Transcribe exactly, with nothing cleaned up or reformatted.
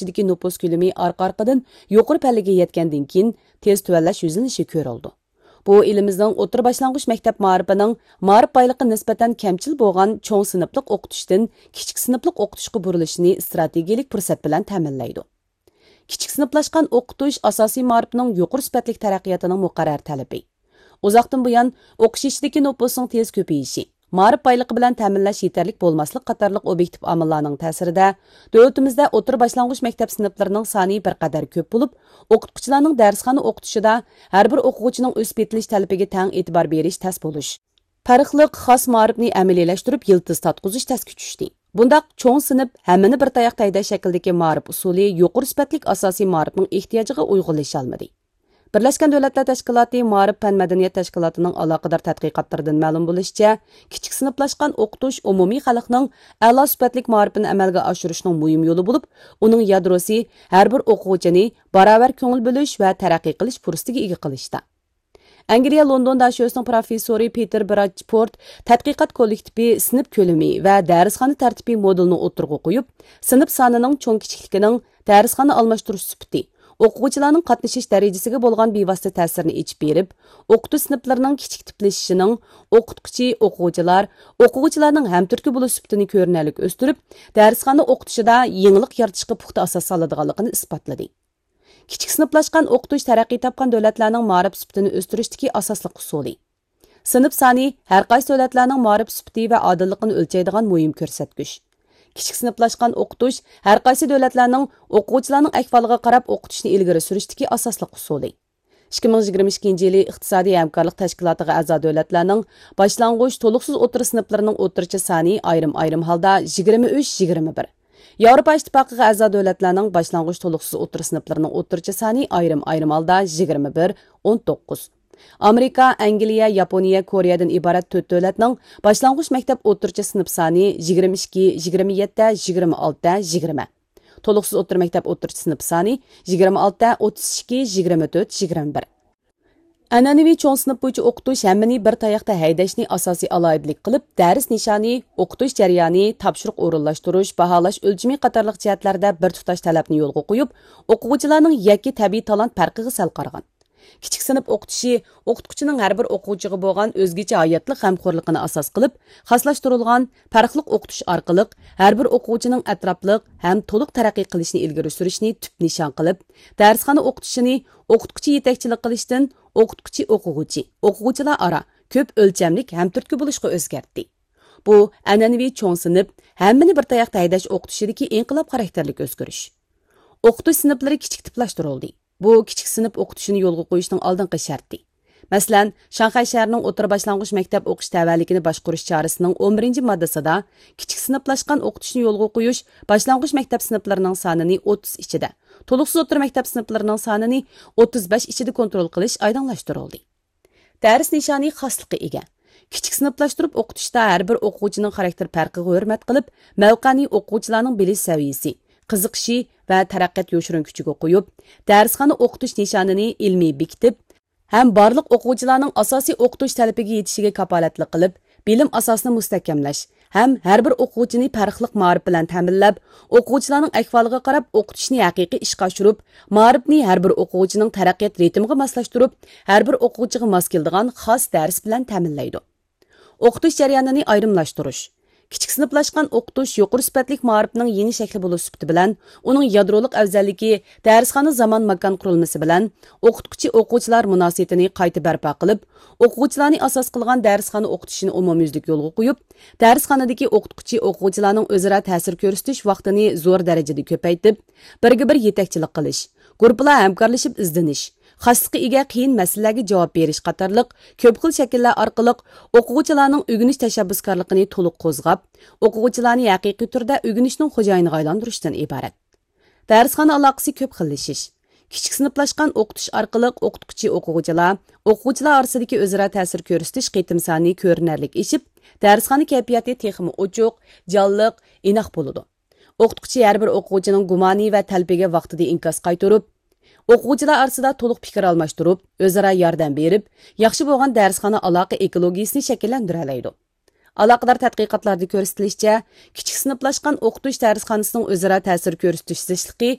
ئىچىدىكى نوپۇس كۆلىمى ئارقا-ئارقىدىن يۇقىرى پەللىگە يەتكەندىن كېيىن، تېز تۆۋەنلەش يۈزلىنىشى كۆرۈلىدۇ. بۇ ئېلىمىزنىڭ ئوتتۇرا باشلانغۇچ مەكتەپ مائارىپىنىڭ مائارىپ بايلىقى نىسبەتەن كەمچىل بولغان چوڭ سىنىپلىق ئوقۇتۇشتىن كىچىك سىنىپلىق ئوقۇتۇشقا بۇرۇلۇشىنى ئىستراتېگىيەلىك پۇرسەت بىلەن تەمىنلەيدۇ. كىچىك سىنىپلاشقان ئوقۇتۇش ئاساسىي مائارىپنىڭ يۇقىرى سۈپەتلىك تەرەققىياتىنىڭ مۇقەررەر تەلىپى. ئۇزاقتىن بۇيان، ئوقۇش يېشىدىكى نوپۇسنىڭ تېز كۆپىيىشى، مائارىپ بايلىقى بىلەن تەمىنلەش يېتەرلىك بولماسلىق قاتارلىق ئوبيېكتىپ ئامىللارنىڭ تەسىرىدە، دۆلىتىمىزدە ئوتتۇرا باشلانغۇچ مەكتەپ سىنىپلىرىنىڭ سانى بىر قەدەر كۆپ بولۇپ، ئوقۇتقۇچىلارنىڭ دەرسخانا ئوقۇتۇشىدا ھەر بىر ئوقۇغۇچىنىڭ ئۆسۈپ يېتىلىش تەلىپىگە تەڭ ئېتىبار بېرىش تەس بولۇش، پەرقلىق خاس مائارىپنى ئەمەلىيلەشتۈرۈپ يىلتىز تارتقۇزۇش تەسكە چۈشتى. بۇنداق چوڭ سىنىپ، ھەممىنى بىر تاياقتا ھەيدەش شەكلىدىكى مائارىپ ئۇسۇلى يۇقىرى سۈپەتلىك ئاساسىي مائارىپنىڭ ئېھتىياجىغا ئۇيغۇنلىشالمىدى. بىرلەشكەن دۆلەتلەر تەشكىلاتى مائارىپ پەن مەدەنىيەت تەشكىلاتىنىڭ ئالاقىدار تەتقىقاتلىرىدىن مەلۇم بولۇشىچە، كىچىك سىنىپلاشقان ئوقۇتۇش ئومۇمىي خەلقنىڭ ئەلا سۈپەتلىك مائارىپىنى ئەمەلگە ئاشۇرۇشنىڭ مۇھىم يولى بولۇپ، ئۇنىڭ يادروسى ھەر بىر ئوقۇغۇچىنى باراۋەر كۆڭۈل بۆلۈش ۋە تەرەققىي قىلىش پۇرسىتىگە ئىگە قىلىشتا. ئەنگلىيە لوندون داشۆسىنىڭ پروفېسسورى پېتېر براچپورت تەتقىقات كوللېكتىپى سىنىپ كۆلىمى ۋە دەرسخانا تەرتىپى مودېلىنى ئوتتۇرىغا قويۇپ، سىنىپ سانىنىڭ چوڭ-كىچىكلىكىنىڭ دەرسخانا ئالماشتۇرۇش سۈپىتى، ئوقۇغۇچىلارنىڭ قاتنىشىش دەرىجىسىگە بولغان بىۋاسىتە تەسىرىنى ئېچىپ بېرىپ، ئوقۇتۇش سىنىپلىرىنىڭ كىچىك تىپلىشىشىنىڭ ئوقۇتقۇچى، ئوقۇغۇچىلار، ئوقۇغۇچىلارنىڭ ھەمتۈرتكە بولۇش سۈپىتىنى كۆرۈنەرلىك ئۆستۈرۈپ، دەرسخانا ئوقۇتۇشىدا يېڭىلىق يارىتىشقا پۇختا ئاساس سالىدىغانلىقىنى ئىسپاتلىدى. كىچىك سىنىپلاشقان ئوقۇتۇش تەرەققىي تاپقان دۆلەتلەرنىڭ مائارىپ سۈپىتىنى ئۆستۈرۈشتىكى ئاساسلىق ئۇسۇلى. سىنىپ سانى ھەر قايسى دۆلەتلەرنىڭ مائارىپ سۈپىتى ۋە ئادىللىقىنى ئۆلچەيدىغان مۇھىم كۆرسەتكۈچ. كىچىك سىنىپلاشقان ئوقۇتۇش ھەر قايسى دۆلەتلەرنىڭ ئوقۇغۇچىلارنىڭ ئەھۋالىغا قاراپ ئوقۇتۇشنى ئىلگىرى سۈرۈشتىكى ئاساسلىق ئۇسۇلى. ئىككى مىڭ يىگىرمە ئىككىنچى يىلى ئىقتىسادىي ھەمكارلىق تەشكىلاتىغا ئەزا دۆلەتلەرنىڭ باشلانغۇچ، تولۇقسىز ئوتتۇرا سىنىپلىرىنىڭ ئوتتۇرىچە سانى ئايرىم-ئايرىم ھالدا يىگىرمە ئۈچ، يىگىرمە بىر. ياۋروپا ئىتتىپاقىغا ئەزا دۆلەتلەرنىڭ باشلانغۇچ، تولۇقسىز ئوتتۇرا سىنىپلىرىنىڭ ئوتتۇرىچە سانى ئايرىم-ئايرىم ھالدا يىگىرمە بىر، ئون توققۇز. ئامېرىكا، ئەنگلىيە، ياپونىيە، كورېيەدىن ئىبارەت تۆت دۆلەتنىڭ باشلانغۇچ مەكتەپ ئوتتۇرىچە سىنىپ سانى يىگىرمە ئىككى، يىگىرمە يەتتە، يىگىرمە ئالتە، يىگىرمە. تولۇقسىز ئوتتۇرا مەكتەپ ئوتتۇرىچە سىنىپ سانى يىگىرمە ئالتە، ئوتتۇز ئىككى، يىگىرمە تۆت، يىگىرمە بىر. ئەنئەنىۋى چوڭ سىنىپ بويىچە ئوقۇتۇش ھەممىنى بىر تاياقتا ھەيدەشنى ئاساسىي ئالاھىدىلىك قىلىپ، دەرس نىشانى، ئوقۇتۇش جەريانى، تاپشۇرۇق ئورۇنلاشتۇرۇش، باھالاش ئۆلچىمى قاتارلىق جەھەتلەردە بىر تۇتاش تەلەپنى يولغا قويۇپ، ئوقۇغۇچىلارنىڭ يەككە تەبىئىي تالانت پەرقىگە سەل قارىغان. كىچىك سىنىپ ئوقۇتۇشى ئوقۇتقۇچىنىڭ ھەر بىر ئوقۇغۇچىغا بولغان ئۆزگىچە ھاياتلىق غەمخورلۇقىنى ئاساس قىلىپ، خاسلاشتۇرۇلغان پەرقلىق ئوقۇتۇش ئارقىلىق ھەر بىر ئوقۇغۇچىنىڭ ئەتراپلىق ھەم تولۇق تەرەققىي قىلىشىنى ئىلگىرى سۈرۈشنى تۈپ نىشان قىلىپ، دەرسخانا ئوقۇتۇشىنى ئوقۇتقۇچى يېتەكچىلىك قىلىشتىن ئوقۇتقۇچى ئوقۇغۇچى، ئوقۇغۇچىلار ئارا كۆپ ئۆلچەملىك ھەمتۈرتكە بولۇشقا ئۆزگەرتتى. بۇ ئەنئەنىۋى چوڭ سىنىپ، ھەممىنى بىر تاياقتا ھەيدەش ئوقۇتۇشىدىكى ئىنقىلاب خاراكتېرلىك ئۆزگىرىش. ئوقۇتۇش سىنىپلىرى كىچىك تىپلاشتۇرۇلدى. بۇ كىچىك سىنىپ ئوقۇتۇشىنى يولغا قويۇشنىڭ ئالدىنقى شەرتى. مەسىلەن، شاڭخەي شەھىرىنىڭ ئوتتۇرا باشلانغۇچ مەكتەپ ئوقۇش تەۋەلىكىنى باشقۇرۇش چارىسىنىڭ ئون بىرىنچى ماددىسىدا كىچىك سىنىپلاشقان ئوقۇتۇشنى يولغا قويۇش باشلانغۇچ مەكتەپ سىنىپلىرىنىڭ سانىنى ئوتتۇز ئىچىدە، تولۇقسىز ئوتتۇرا مەكتەپ سىنىپلىرىنىڭ سانىنى ئوتتۇز بەش ئىچىدە كونترول قىلىش ئايدىڭلاشتۇرۇلدى. دەرس نىشانى خاسلىققا ئىگە. كىچىك سىنىپلاشتۇرۇپ ئوقۇتۇشتا ھەر بىر ئوقۇغۇچىنىڭ خاراكتېر پەرقىگە ھۆرمەت قىلىپ، مەۋقەنى ئوقۇغۇچىلارنىڭ بىلىش سەۋىيىسى، قىزىقىشى ۋە تەرەققىيات يوشۇرۇن كۈچىگە قويۇپ، دەرسخانا ئوقۇتۇش نىشانىنى ئىلمىي بېكىتىپ، ھەم بارلىق ئوقۇغۇچىلارنىڭ ئاساسىي ئوقۇتۇش تەلىپىگە يېتىشىگە كاپالەتلىك قىلىپ، بىلىم ئاساسىنى مۇستەھكەملەش ھەم ھەر بىر ئوقۇغۇچىنى پەرقلىق مائارىپ بىلەن تەمىنلەپ، ئوقۇغۇچىلارنىڭ ئەھۋالىغا قاراپ ئوقۇتۇشنى ھەقىقىي ئىشقا ئاشۇرۇپ، مائارىپنى ھەر بىر ئوقۇغۇچىنىڭ تەرەققىيات رىتىمىغا ماسلاشتۇرۇپ، ھەر بىر ئوقۇغۇچىغا ماس كېلىدىغان خاس دەرس بىلەن تەمىنلەيدۇ. ئوقۇتۇش جەريانىنى ئايرىملاشتۇرۇش. كىچىك سىنىپلاشقان ئوقۇتۇش يۇقىرى سۈپەتلىك مائارىپنىڭ يېڭى شەكلى بولۇش سۈپىتى بىلەن، ئۇنىڭ يادرولۇق ئەۋزەللىكى، دەرسخانا زامان ماكان قۇرۇلمىسى بىلەن ئوقۇتقۇچى ئوقۇغۇچىلار مۇناسىۋىتىنى قايتا بەرپا قىلىپ، ئوقۇغۇچىلارنى ئاساس قىلغان دەرسخانا ئوقۇتۇشىنى ئومۇميۈزلۈك يولغا قويۇپ، دەرسخانىدىكى ئوقۇتقۇچى ئوقۇغۇچىلارنىڭ ئۆزئارا تەسىر كۆرسىتىش ۋاقتىنى زور دەرىجىدە كۆپەيتىپ، بىرگە بىر يېتەكچىلىك قىلىش، گۇرۇپپىلار ھەمكارلىشىپ ئىزدىنىش، خاسلىققا ئىگە قىيىن مەسىلىلەرگە جاۋاب بېرىش قاتارلىق كۆپ خىل شەكىللەر ئارقىلىق ئوقۇغۇچىلارنىڭ ئۆگىنىش تەشەببۇسكارلىقىنى تولۇق قوزغاپ، ئوقۇغۇچىلارنى ھەقىقىي تۈردە ئۆگىنىشنىڭ خوجايىنىغا ئايلاندۇرۇشتىن ئىبارەت. دەرسخانا ئالاقىسى كۆپ خىللىشىش. كىچىك سىنىپلاشقان ئوقۇتۇش ئارقىلىق ئوقۇتقۇچى ئوقۇغۇچىلار، ئوقۇغۇچىلار ئارىسىدىكى ئۆزئارا تەسىر كۆرسىتىش قېتىم سانى كۆرۈنەرلىك ئېشىپ، دەرسخانا كەيپىياتى تېخىمۇ ئوچۇق، جانلىق، ئىناق بولىدۇ. ئوقۇتقۇچى ھەر بىر ئوقۇغۇچىنىڭ گۇمانى ۋە تەلىپىگە ۋاقتىدا ئىنكاس قايتۇرۇپ، ئوقۇغۇچىلار ئارىسىدا تولۇق پىكىر ئالماشتۇرۇپ، ئۆزئارا ياردەم بېرىپ، ياخشى بولغان دەرسخانا ئالاقە ئېكولوگىيىسىنى شەكىللەندۈرەلەيدۇ. ئالاقىدار تەتقىقاتلاردا كۆرسىتىلىشىچە، كىچىك سىنىپلاشقان ئوقۇتۇش دەرسخانىسىنىڭ ئۆزئارا تەسىر كۆرسىتىش زىچلىقى